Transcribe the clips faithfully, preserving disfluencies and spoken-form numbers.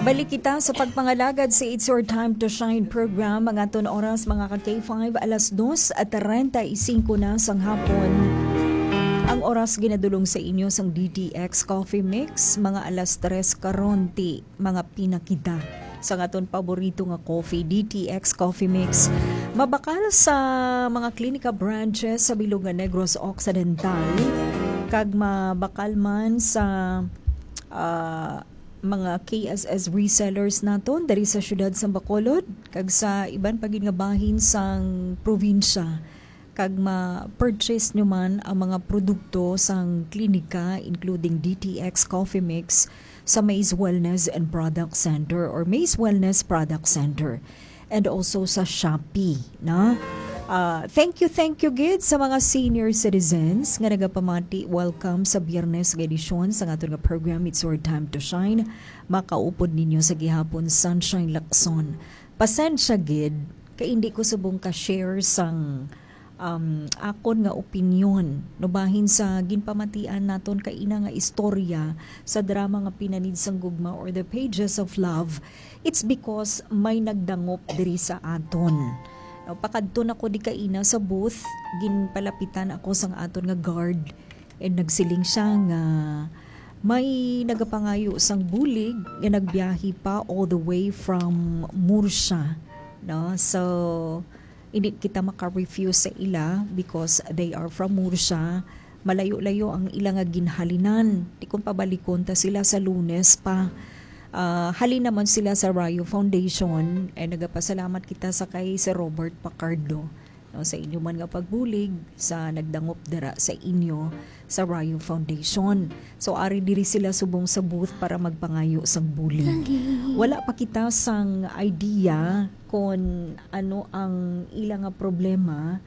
Balik kita sa pagpangalagad sa It's Your Time to Shine program. Ang aton oras, mga ka K five, alas dos at treinta y cinco na sang hapon. Ang oras ginadulong sa inyo sang D T X Coffee Mix, mga alas tres karon, ti mga pinakita sa aton paborito nga coffee, D T X Coffee Mix. Mabakal sa mga klinika branches sa bilog nga Negros Occidental, kag mabakal man sa, ah, mga K S S resellers naton diri sa siyudad sa Bacolod kag sa iban pa gid nga bahin sang probinsya, kag ma-purchase nyo man ang mga produkto sang klinika, including D T X Coffee Mix, sa Maze Wellness and Product Center or Maze Wellness Product Center, and also sa Shopee, no? Ah, thank you, thank you gid sa mga senior citizens nga nagapamati. Welcome sa Biyernes nga edisyon sa aton nga program, It's Your Time to Shine. Makaupod ninyo sa gihapon, Sunshine Lacson. Pasensya gid, kay hindi ko subong ka-share sang, um, akon nga opinyon, no, bahin sa ginpamatian naton kaina nga istorya sa drama nga Pinanid sang Gugma or The Pages of Love. It's because may nagdangop diri sa aton. No, pakadto na ko di kaina sa booth, ginpalapitan ako sang aton nga guard, and nagsiling siya nga may nagapangayo sang bulig nga nagbiyahe pa all the way from Murcia, no? So, hindi kita maka-refuse sa ila because they are from Murcia. Malayo-layo ang ila nga ginhalinan. Di kung pabalikon ta sila sa Lunes pa. Ah, halin naman sila sa Rayo Foundation, and nagapasalamat kita sa kay Sir Robert Pacardo, no, sa inyo man nga pagbulig sa nagdangop dira sa inyo sa Rayo Foundation. So, ari diri sila subong sa booth para magpangayo sang bulig. Wala pa kita sang idea kon ano ang ila nga problema,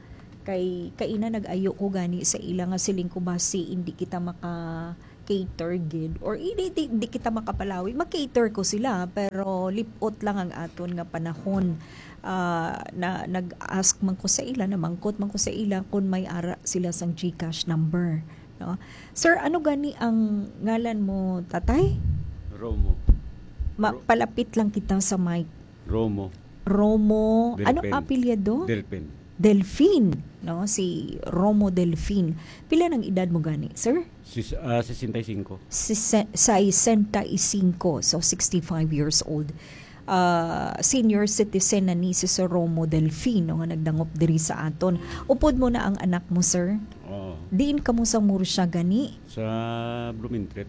kay kaina nag-ayo ko gani sa ila nga siling ko, basi hindi kita maka-cater gid or hindi, di, di kita makapalawi. Mag-cater ko sila, pero lip-ot lang ang aton nga panahon. Ah, na, nag-ask man ko sa ila, namangkot man ko sa ila kung may ara sila sang GCash number, no? Sir, ano gani ang ngalan mo, tatay? Romo. Ma-, Ro- palapit lang kita sa mic. Romo. Romo, ano Delfin. apelyido? Delfin. Delfin, no? Si Romo Delfin. Pila nang edad mo gani, sir? Sis, ah, sesenta y cinco. Sise-, sesenta y cinco, so sixty-five years old. Ah, senior citizen na ni si Sir Romo Delfin, no, nga nagdangop diri sa aton. Upod mo na ang anak mo, sir? Oo. Diin kamo sa Murcia gani? Sa Blumentritt.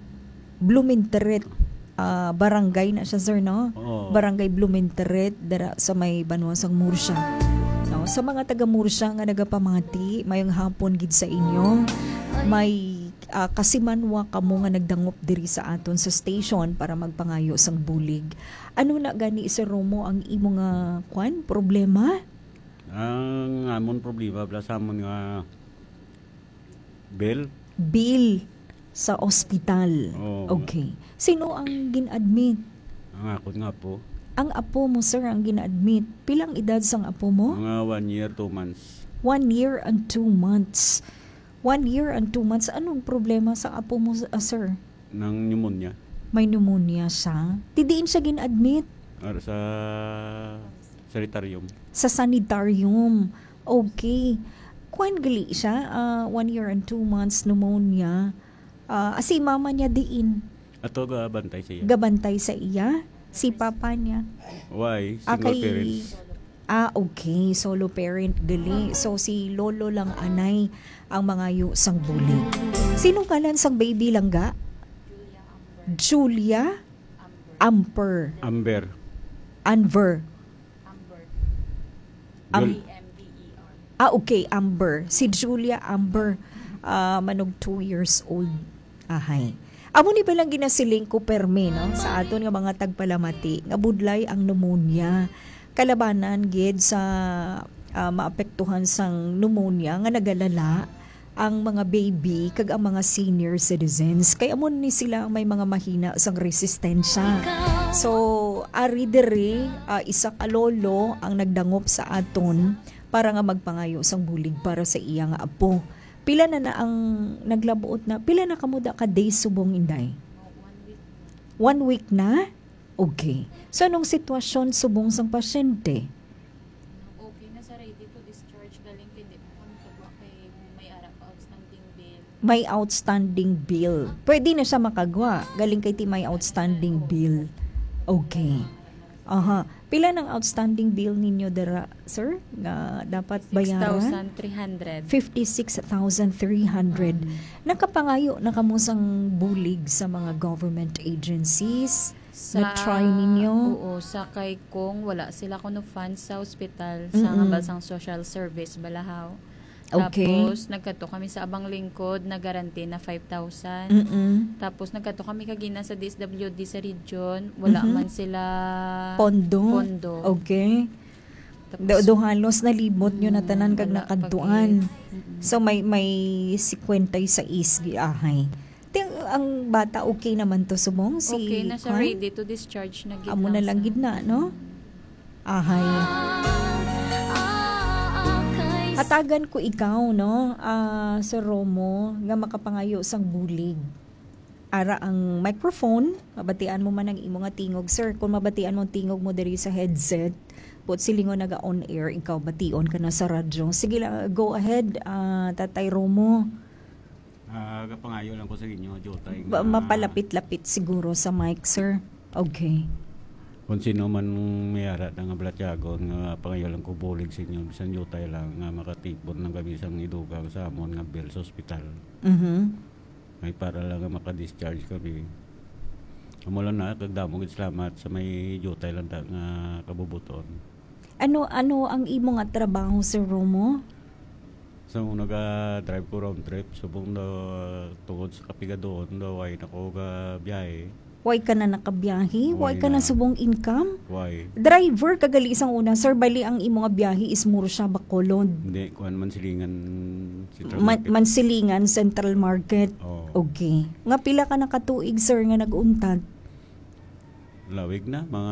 Blumentritt, ah, barangay na siya, sir, no? Oo. Barangay Blumentritt, dira sa may banwa sang Murcia. No? Sa mga taga Murcia nga nagapamati, mayong hapon gid sa inyo. May, ah, kasimanwa kamo nga nagdangop diri sa aton sa station para magpangayo sang bulig. Ano na gani, Sir Romo, ang imo nga, kwan, problema? Ang amon problema, bala sa amon nga bill. Bill sa ospital. Oo. Okay. Sino ang gin-admit? Ang akon nga po. Ang apo mo, sir, ang gin-admit. Pila ang edad sang apo mo? Mga one year, two months. One year and two months. One year and two months. Anong problema sa apo mo, ah, sir? Ng pneumonia. May pneumonia siya. Ti diin siya gin-admit? Ar sa sanitarium. Sa sanitarium. Okay. Kuan gali siya, ah, one year and two months, pneumonia. Ah, si mama niya diin? Ato gabantay siya. Gabantay sa iya? Si papa niya? Why? Ah, Single kay- parents. Ah, okay. Solo parent gali. So, si lolo lang anay ang mangayo sang bulig. Sino ngalan sang baby, langga? Julia Amper. Amber. Anver. Am- Jul- Ah, okay, Amber. Si Julia Amber, ah, manog two years old. Ahay. Amo ni palang ginasiling ko permi, no? Sa aton nga mga tagpalamati, nga budlay ang pneumonia. Kalabanan gid sa, ah, maapektuhan sang pneumonia nga nagalala ang mga baby kag ang mga senior citizens. Kay amo ni sila ang may mga mahina sang resistensya. So, ari diri, ah, isa ka lolo ang nagdangop sa aton para nga magpangayo sang bulig para sa iya nga apo. Pila na na ang naglabuot na? Pila na kamo da ka days subong, Inday? One week na? Okay. So, anong sitwasyon subong sang pasyente? Okay na sa ready to discharge, galing kay di pa kami kagwa kay may ara pa outstanding bill. May outstanding bill. Pwede na siya makagwa. Galing kay ti may outstanding bill. Okay. Aha. Pila nang outstanding bill ninyo dira, sir? Nga dapat bayaran? six thousand three hundred. Fifty-six thousand three hundred. Nakapangayo na kamo sang bulig sa mga government agencies? Na-try ninyo? Oo, sa kay kung wala sila kuno funds sa hospital, sa Mm-mm. nga ba sang social service balahaw. Okay. Tapos, nagkadto kami sa Abang Lingkod, nag-guarantee na five thousand. Mm-mm. Tapos, nagkadto kami kagina sa D S W D sa region, wala Mhm. man sila Pondo? pondo. Okay. Tapos, Do, do halos nalimot nyo na tanan kag wala nakadtuan. pag-, mm-mm. So, may, may singkwenta y seis giahay. Ti, ang bata okay naman to, subong? Si Okay na siya, Kwan? Ready to discharge na gid Amo na lang sa gid na, no? Ahay. Hatagan ko ikaw, no, ah, Sir Romo, nga makapangayo sang bulig. Ara ang microphone, mabatian mo man ang imo nga tingog, sir. Kung mabatian mo ang tingog mo diri sa headset, but silingon naga on air, ikaw bation ka na sa radyo. Sige lang, go ahead, ah, Tatay Romo. Ah, kapangayo lang ko sa inyo, Jotay, Ba- nga mapalapit-lapit siguro sa mic, sir. Okay. Kung sino man may ara na nga balatyagon, nga pangayo lang ko bulig sa inyo, bisan Jotay lang, nga makatipon lang kami sang idugang sa amon nga bill sa ospital. Mhm. May para lang nga makadischarge kami. Amo lang na, kagdamo gid salamat sa may Jotay lang ta nga kabubuton. Ano ano ang imo nga trabaho, Sir Romo? So, naga-drive ko round trip, subong na tungod sa kapigadoon, daw ay nako ga biyahe. Way ka na nakabiyahe? Way Way ka na na. Subong income? Why? Driver ka gali sang una, sir. Bali ang imo nga biyahe is mura siya Bacolod. Hindi, kuan, Mansilingan Central Man, Market. Mansilingan Central Market. Oh, Okay. Nga pila ka nakatuig, sir, nga nag-untat? Lawig na, mga